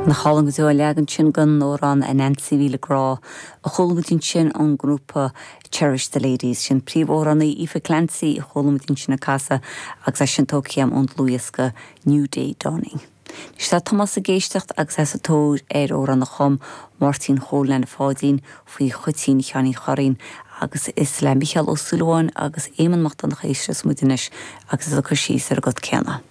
Nach álainn go deo an leagan sin den amhrán A Neansaí Mhíle Grá a chuala muid ansin ón ngrúpa Cherish the Ladies. Sin príomhamhránaí Aoife Clancy a chuala muid ansin ag casadh agus é sin tógtha agam ón dlúthdhiosca New Day Dawning. Anois tá Tomás ag éisteacht agus é sa tóir ar amhrán a chum Máirtín Chóil Nana Pháidín faoi Chuitín Sheáinín Churraoin agus is le Mícheál Ó Súilleabháin agus Éamonn Mac Donncha a éistfeas muid anois agus iad ag cur síos ar an gcut céanna.